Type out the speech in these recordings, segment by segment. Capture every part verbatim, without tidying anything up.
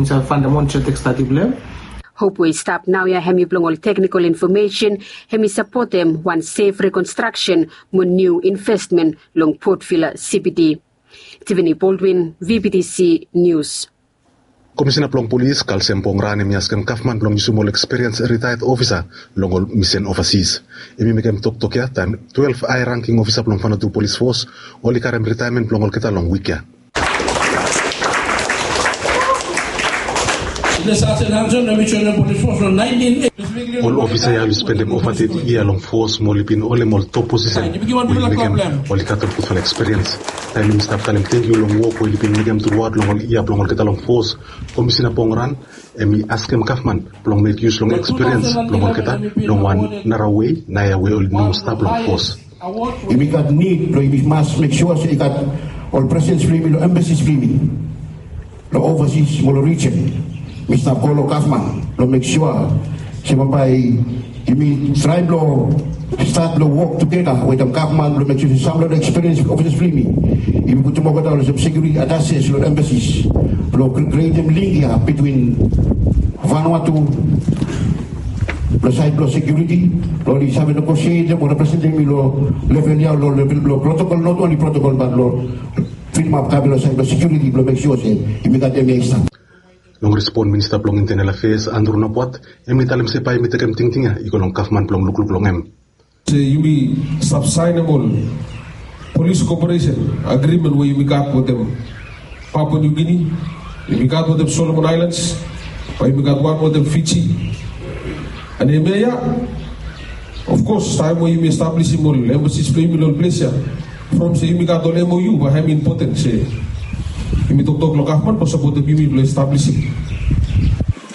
Insait fandamantal tekstadi blong em. Hop we i stap naoia hemi blong ol teknikol infomesen, hemi sapotem wan sef rekonstraksen mo niu investmen long Port Vila C B D. Tiffany Baldwin, V B T C News. Komisina blong polis Kalsem Pongran hemi askem gavman blong yusum ol ekspiriens ritaed ofisa long ol misen ovasis. Hemi mekem toktok ya taem twelef hae rangking ofisa blong Vanuatu Polis Fos oli karem ritaemen blong olgeta long wik ya. Ol ofisa ya oli spendem ova teti yia long fos mo oli bin holem ol top posisen we i mekem oli gat ol gudfala ekspiriens. Taem hemi stap talem tangkiu long wok we oli bin mekem truaot long ol yia blong olgeta long fos, Komisina Pongran hemi askem gavman blong mek yus long ekspiriens blong olgeta long wan nara wei naoia we oli no moa stap long fos. Yumi gat nid blong yumi mas mek sua se i gat ol presens blong yumi long embasis blong yumi long ovasis mo long rijen. Mi stap go long gavman blong mek sua se bambae yumi traem blong stat long wok tugeta wetem gavman blong mek sua se sam long ekspiriens ofisas blong yumi, yumi putum olgeta olsem sekiuriti atases long embasis blong kri- krietem link ya bitwin Vanuatu long saed blong sekiuriti blong oli save negosietem o representem yumi long level ya long level blong protokol, not only protokol bat long filimap kabe long saed blong sekiuriti blong mek sua se yumi gat hemia i stap. Long respon, Minista blong Intenel Afeas Andrew Napuat hemi talem se bae hemi tekem tingting ya i go long gavman blong lukluk long hem. Se yumi stap saenem ol polis koperesen agrimen we yumi gat wetem Papua New Guinea, yumi gat wetem Solomon Aelans, bae yumi gat wan wetem Fiji. An hemia ya, of kos, taem we yumi establisim ol embasis blong yumi long ol ples ya, from se yumi gat ol M O U, bae hem impoten se yumi toktok long gavman blong sapotem yumi blong establisim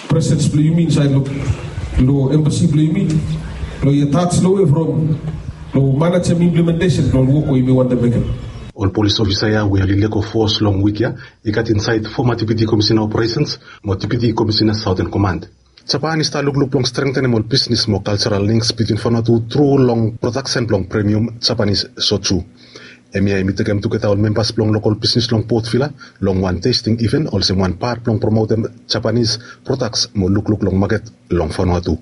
presens blong yumi insaed long, long embasi blong yumi, blong i atas long we from long manejem implementesen blong ol wok we yumi wantem mekem. Ol polis ofisa ya we oli lego fos long wik ya i gat insaed foma Deputi Komisina Operesens mo Deputi Komisina Saoten Komand. Japan i stap lukluk blong strengtenem ol bisnis mo kaljaral links bitwin Vanuatu tru long prodaksen blong premium Japanis soju. Hemia hemi tekem tugeta ol membas blong lokol bisnis long Port Vila long wan testing iven olsem wan pat blong promotem Japanis prodaks mo lukluk long maket long Vanuatu.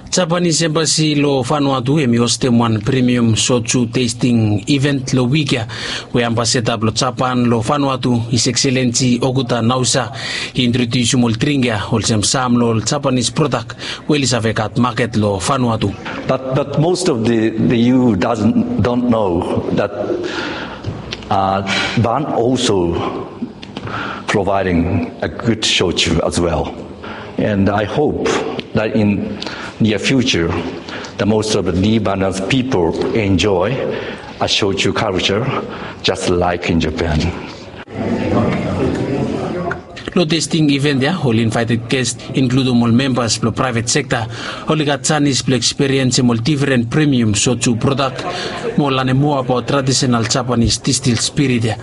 Japanis embasi long Vanuatu hemi hostem wan premium soju testing iven long wik ya, we ambasada blong Japan long Vanuatu, His Excellency Okuda Naosa, i introdiusim ol dring ya olsem sam long ol Japanis prodak we oli save gat maket long Vanuatu. But, but most of the, the E U doesn't, don't know that, uh, Van also providing a good shochu as well. And I hope that in near future, the most of the Lebanese people enjoy a shochu culture just like in Japan. Long testing event ya, ol invited guest, inkludum ol membas blong private sekta, oli gat janis blong ekspiriensem ol difren premium soju prodak mo lanem moa abaot tradisenal Japanis distil spirit ya.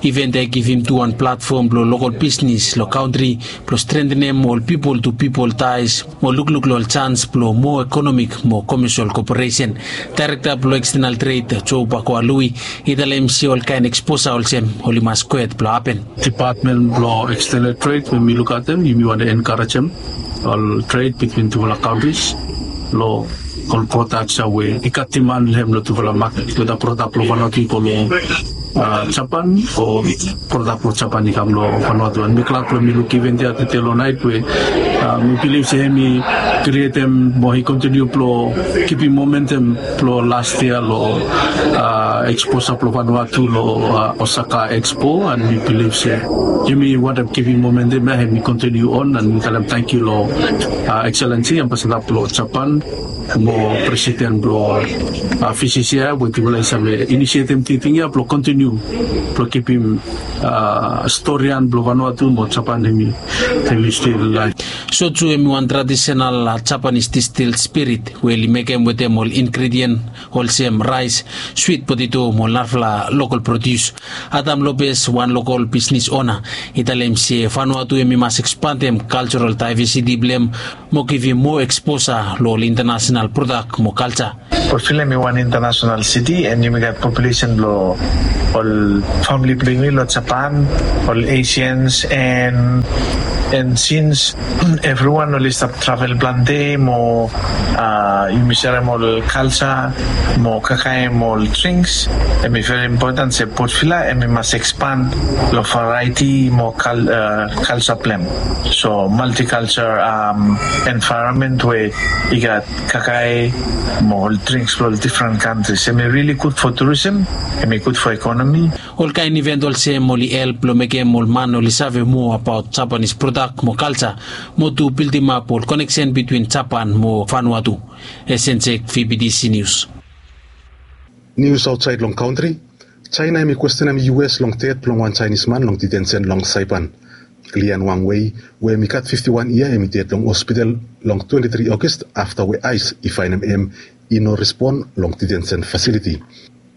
Event ya i givim tu wan platfom blong lokol bisnis long kantri blong strengtenem ol pipol tu pipol taes mo lukluk long ol jans blong moa ekonomik mo komesol koperesen. Daerekta blong ekstenal tred, Joe Bakoa Lui, i talem se ol kaen eksposa olsem oli mas kwet blong hapen. Depatmen blong ekstenal tred we mi lukaotem, yumi wantem enkarejem ol tred bitwin tufala kantris long ol prodaks ya we i gat diman long hem long tufala maket, weda prodak blong Vanuatu i go long, a, Japan o prodak blong Japan i kam long Vanuatu. An mi glad blong mi luk event ya tede long naet we, a, mi bilif se hemi krietem mo i kontiniu blong kipim momentum blong las yia long, a, eksposa blong Vanuatu long, a, Osaka Expo, an mi bilif se yumi wantem kipim momentum ya, hemi kontiniu on, an mi talem tangkiu long, a, Excellency Ambasada blong Japan mo Presiden blong, a, V C C I we tufala i save inisietem tingting ya blong kontiniu blong kipim, a, storian blong Vanuatu mo Japan hemi, hemi stil laef. Soju hemi wan tradisenal, a, Japanis distil spirit we oli mekem wetem ol ingredien olsem raes, swit poteto mo narafala lokol prodius. Adam Lopez, wan lokol bisnis ona, i talem se Vanuatu hemi mas ekspandem kaljaral daevesiti blong hem mo givim moa eksposa long ol intanasenal prodak mo kalja. Portvilla hemi wan international city and yumi gat population blong ol famili blong yumi long Japan, ol Asians, and and since everyone oli stap travel plante mo uh, yumi serem ol culture mo kakaem ol drinks, hemi very important se Portvilla hemi mas expand long variety mo cul uh, culture blong hem. So multiculture um, environment where i gat kakae mo ol drinks blong ol different countries. Hemi really good for tourism, hemi good for economy. Ol kaen event olsem oli help long mekem ol man oli save moa abaot Japanese product mo culture mo tu bildimap ol connection between Japan mo Vanuatu. Esensek, V B T C News. Nius aotsaed long kantri. China hemi kwestenem U S long ded blong wan Chinese man long detention long Saipan. Lian Wang Wei, we hemi gat fifti wan yia, hemi ded long hospital long twenti tri August afta we ICE i faenem hem i no respon long detention fasiliti.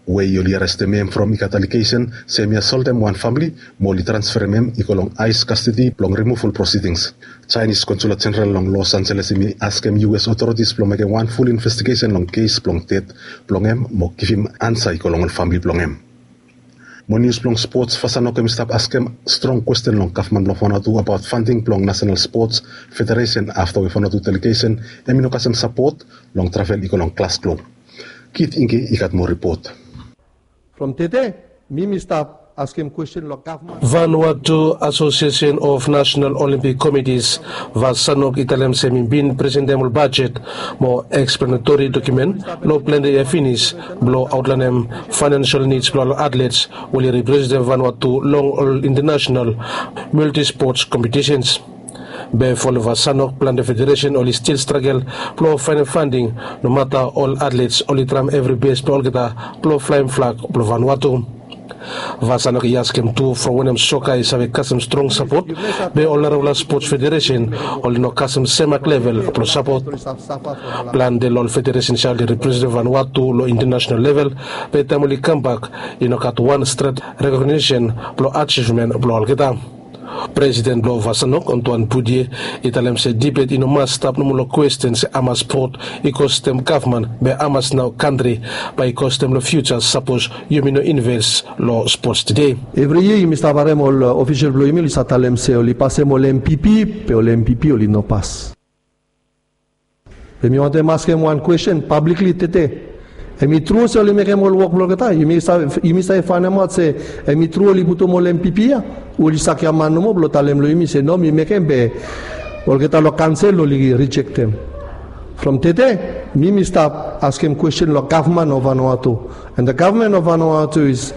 Wei oli arestem hem from i gat alegesen se hemi asoltem wan famili mo oli transferem hem i go long ICE kastedi blong rimuval prosidings. Chinese Consulate General long Los Angeles hemi askem U S authorities blong mekem wan ful investigesen long kes blong ded blong hem mo givim ansa i go long ol famili blong hem. Mo nius blong spots, Vasanok hemi stap askem strong kwesten long gavman blong Vanuatu abaot fanding blong National Sports Federation afta we Vanuatu delegesen hemi no kasem sapot long travel i go long Glasgow. Kit Inge i gat moa ripot. From tede mi mi stap askem kwesten long gavman. Vanuatu Association of National Olympic Committees, Vasanok, i talem se hemi bin presentem ol bajet mo eksplanatori dokumen long plante yia finis blong aotlaenem financial needs blong ol atlets we oli representem Vanuatu long ol international multisports competitions. Be fo long Vasanok, plante federesen oli stil stragel blong faenem fanding, nomata ol atlets oli traem evri bes blong olgeta blong flaem flag blong Vanuatu. Vasanok i askem tu from wanem soka i save kasem strong sapot be ol narafala spots federesen oli no kasem semak level blong sapot. Plante long ol federesens ya oli representem Vanuatu long international level, be taem oli kambak i no gat wan stret rekognisen blong ajivmen blong olgeta. Presiden blong Vasanok, Antoine Boudier, i talem se dibet i no mas stap nomo long kwesten se hamas spot i kostem gavman be hamas nao kantri bae i kostem long fiuja sapos yumi no inves long spots tede. Evri yia yumi stap harem ol ofisol blong yumi oli stap talem se oli pasem ol M P P, be ol M P P oli no pas. Be mi wantem askem wan kwesten pablikli tede. Hemi tru se oli mekem ol wok blong olgeta? Yumi save, yumi save faenemaot se hemi tru oli putum ol M P P ya? Oli sakia man nomo blong talem long yumi se no, mi mekem be olgeta long kansel oli rijektem. From tede mi mi stap askem kwesten long gavman of Vanuatu. And the government of Vanuatu is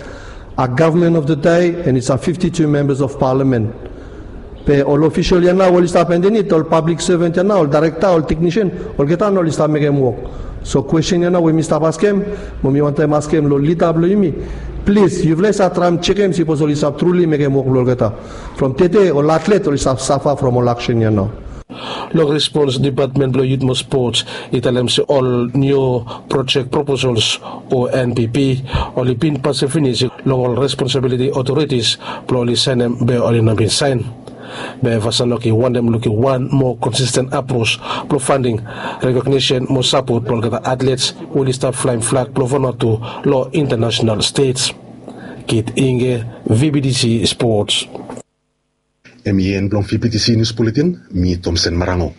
a government of the day and it's a fifty-two members of parliament. Be ol ofisol ya nao oli stap andanit, ol pablik sevan ya nao, ol daerekta, ol teknisen, olgeta nao oli stap mekem wok. So kwesten ya nao we mi stap askem, mo mi wantem askem long lida blong yumi, plis yufala i save traem jekem sipos oli stap truli mekem wok blong olgeta. From tede ol atlet oli stap safa from ol aksen ya nao. Long respons, Depatmen blong Yut mo Spots i talem se ol niu projek proposols o N P P oli bin pasem finis long ol responsabiliti otoritis blong oli saenem be oli no bin saen. Be Vasanok i wantem lukim wan moa konsisten apros blong fanding, rekognisen mo sapot blong olgeta atlets we oli stap flaem flag blong Vanuatu long intanasenal stej. Kit Inge, V B T C Spots. Hemi en blong V B T C Nius Buletin, mi Tomsen Marango.